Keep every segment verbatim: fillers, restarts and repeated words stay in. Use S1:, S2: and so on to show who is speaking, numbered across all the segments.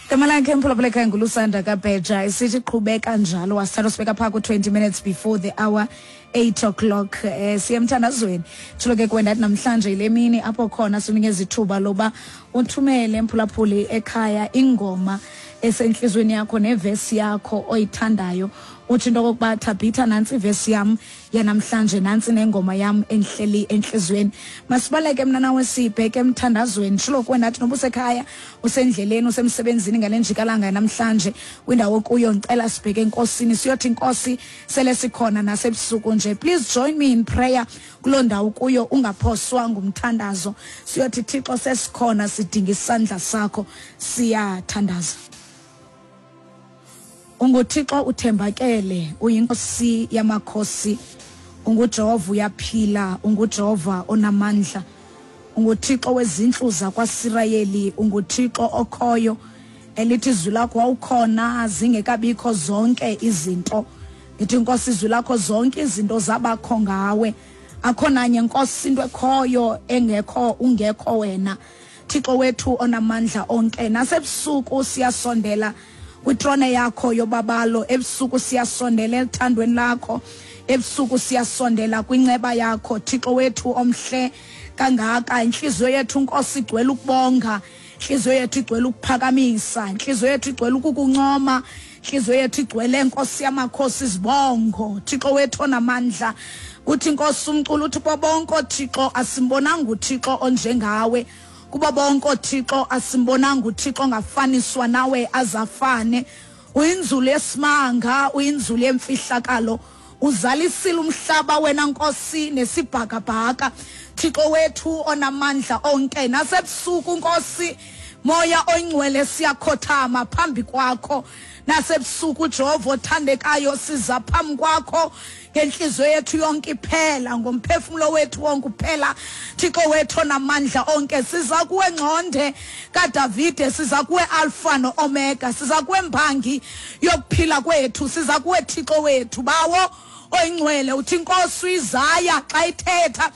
S1: Igama lakhe, mphulaphula ekhaya, nguLusanda Kabheja, isithi "Qhubeka Njalo". Wasithatha sibeka phaa ku-twenty minutes before the hour eight o'clock. eh siye emthandazweni. Tshilo ke kuwe ndathi namhlanje yile mini apho khona sinikeza ithuba loba uthumele, mphulaphuli ekhaya, ingoma esentliziyweni yakho nevesi yakho oyithandayo. Uthi into okokuba, "Thabitha, nantsi ivesi yam yanamhlanje, nantsi nengoma yam enhleli entliziyweni." Masibaleke mna nawe sibheke emthandazweni. Tshilo kuwe ndathi noba usekhaya, usendleleni, usemsebenzini ngale njikalanga namhlanje, kwindawo kuyo, ndicela sibheke enkosini, siyothi, "Nkosi, sele sikhona nasebusuku nje." Please join me in prayer kuloo ndawo kuyo, ungaphoswa ngumthandazo. Siyothi, "Thixo, sesikhona, sidinga isandla sakho." Siyathandaza. UnguThixo, uthembakele, uyinkosi yamakhosi, unguJehova, uyaphila, unguJehova onamandla, unguThixo wezintlu zakwaSirayeli, unguThixo okhoyo, elithi izwi lakho wawukhona zingekabikho zonke izinto. Ngithi, Nkosi, izwi lakho, zonke izinto zabakho ngawe, akho nanye, Nkosi, into ekhoyo engekho ungekho wena, Thixo wethu onamandla onke. Nasebusuku siyasondela kwitrone yakho yobabalo, ebusuku siyasondela elithandweni lakho, ebusuku siyasondela kwinceba yakho, Thixo wethu omhle kangaka. Inhliziyo yethu, Nkosi, igcwele ukubonga, inhliziyo yethu igcwele ukuphakamisa, inhliziyo yethu igcwele ukukuncoma, inhliziyo yethu igcwele, Nkosi yamakhosi, izibongo, Thixo wethu onamandla. Uthi, Nkosi, umculo uthi, "Kubo bonke oothixo asimbonanga uThixo onjengawe, kubo bonke oothixo asimbonanga uThixo ongafaniswa nawe azafane. Uyinzulu yesimanga, uyinzulu yemfihlakalo, uzalisile umhlaba wena, Nkosi, nesibhakabhaka, Thixo wethu onamandla onke." Nasebusuku, Nkosi, Moya Oyingcwele, siyakhothama phambi kwakho nasebusuku. Jehova othandekayo, siza phambi kwakho ngenhliziyo yethu yonke iphela, ngomphefumulo wethu wonke uphela, Thixo wethu onamandla onke. Siza kuwe, ngxonde kaDavide, siza kuwe, Alpha no-Omega, siza kuwe, mbangi yokuphila kwethu, siza kuwe, Thixo wethu, Bawo Oyingcwele. Uthi, Inkosi, uIsaya xa ithetha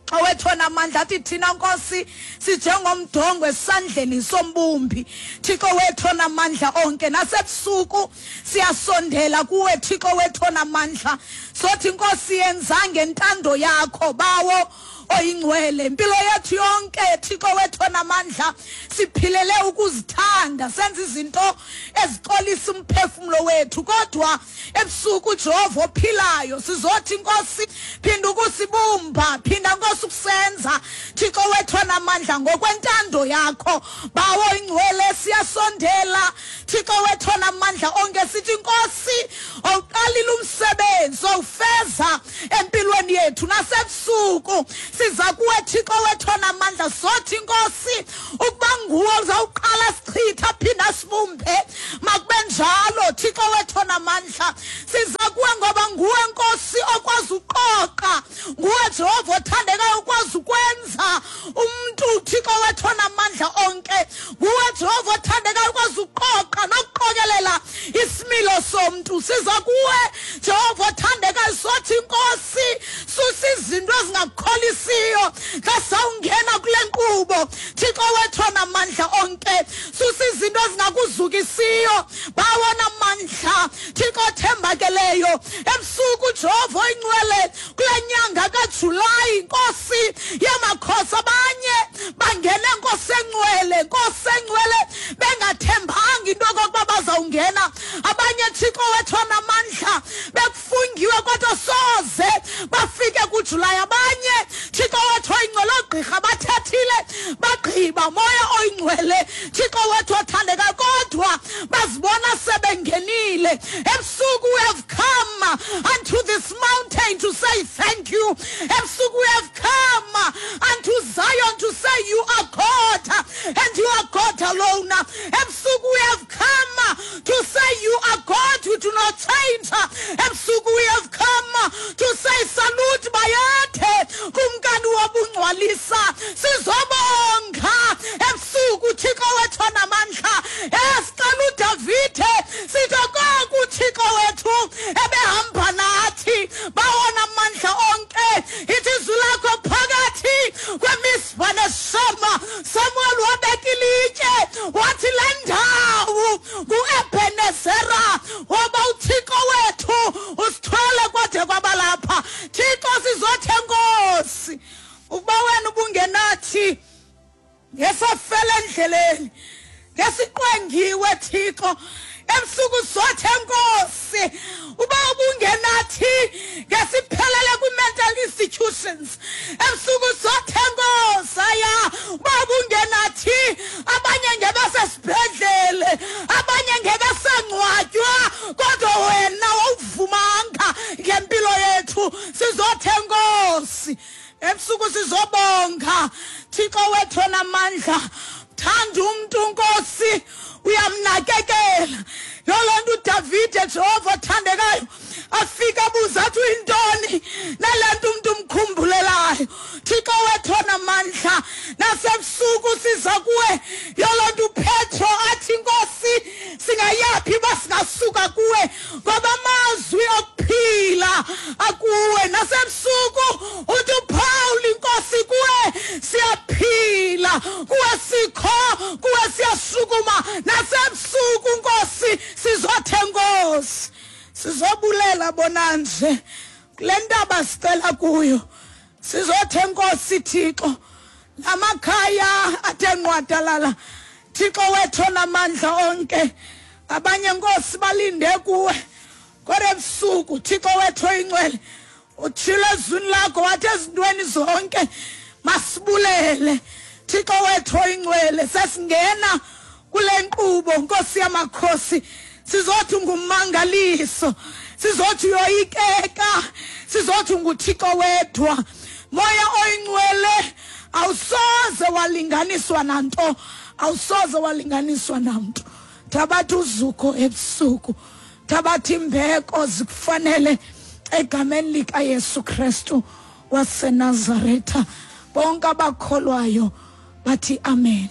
S1: owethu onamandla, athi thina, Nkosi, sinjengomdongo esandleni sombumbi, Thixo wethu onamandla onke. Nasebusuku siyasondela kuwe, Thixo wethu onamandla, sothi, "Nkosi, yenza ngentando yakho, Bawo Oyingcwele." Impilo yethu yonke, Thixo wethu onamandla, siphilele ukuzithanda, senza izinto ezixolisa umphefumulo wethu, kodwa ebusuku, Jehova ophilayo, sizothi, "Nkosi, phinda ukusibumba, phinda, Nkosi, ukusenza, Thixo wethu onamandla, ngokwentando yakho, Bawo Ingcwele." Siyasondela, Thixo wethu onamandla onke, sithi, "Nkosi, awuqalile umsebenzi, owufeza empilweni yethu." Nasebusuku siza kuwe, Thixo wethu onamandla, sothi, "Nkosi, ukuba nguwe uzawuqala sichitha, phinda sibumbe, makube njalo, Thixo wethu onamandla." Siza kuwe ngoba nguwe, Nkosi, okwazi uqoqa, nguwe, Jehova othandekayo, ukwazi ukwenza umntu, Thixo wethu onamandla onke. Nguwe, Jehova othandekayo, ukwazi uqoqa nokuqokelela isimilo somntu. Siza kuwe, Jehova othandekayo, sothi, "Nkosi, susa izinto ezingakukholisiyo xa sawungena kule nkqubo, Thixo wethu onamandla onke. Susa izinto ezingakuzukisiyo, Bawo namandla, Thixo othembakeleyo." Ebusuku, Jehova Oyingcwele, kule nyanga kaJulayi, Nkosi yamakhosi, abanye bangene, Nkosi engcwele, Nkosi engcwele, bengathembanga into okokuba bazawungena. Abanye, Thixo wethu onamandla, bekufungiwe kodwa soze bafike kuJulayi. Abanye, Thixo wethu Oyingcwele, oogqirha bathethile bagqiba, Moya Oyingcwele, Thixo wethu othandekayo, kodwa bazibona sebengenile. Ebusuku we have come unto this mountain to say thank you. Ebusuku we have come unto Zion to say you are God and you are God alone. Ebusuku we have come to say you are God who do not change. Ebusuku we have come to say salute, bayethe, Kumkani wobungcwalisa. Sizobonga ebusuku, Thixo wethu onamandla. Esicela uDavide, sithi koku Thixo wethu ebehamba nathi, bawona amandla onke. Ithi izwi lakho, phakathi kweMispa neShema, Samuel wabeka ilitye, wathi le ndawo endleleni, ngesiqwengiwe Thixo. Ebusuku sothe Nkosi uba ubungenathi ngesiphelele kwi-mental institutions. Ebusuku sothe Nkosi aya uba ubungenathi abanye ngebasesibhedlele, abanye ngebasangcwatywa, kodwa wena wawuvumanga ngempilo yethu. Sizothe Nkosi ebusuku sizobonga Thixo wethu onamandla. Thanda umntu Nkosi, uyamnakekela. Yolo nto uDavide Jehova othandekayo afika abuza athi uyintoni nale nto umntu umkhumbulelayo. Thixo wethu onamandla, nasebusuku siza kuwe. Yolo nto uPetro athi Nkosi singayaphi uba singasuka kuwe, ngoba amazwi okuphila akuwe. Nasebusuku uthi uPaul Nkosi kuwe siyaphila, kuwe sikho, kuwe siyasukuma. Nasebusuku Nkosi sizothe Nkosi sizobulela bona nje kule ntaba sicela kuyo. Sizothe Nkosi Thixo namakhaya athe nqwadalala, Thixo wethu onamandla onke, abanye Nkosi balinde kuwe kodwa ebusuku Thixo wethu oyingcwele utshilo ezwini lakho wathi ezintweni zonke masibulele. Thixo wethu oyingcwele, sesingena kule nkqubo Nkosi yamakhosi, sizothi ngummangaliso, sizothi uyoyikeka, sizothi nguThixo wedwa. Moya oyingcwele awusoze walinganiswa nanto, awusoze walinganiswa namntu. Thabatha uzuko ebusuku, thabatha imbeko zikufanele egameni likaYesu Kristu waseNazaretha. Bonke abakholwayo bathi amen.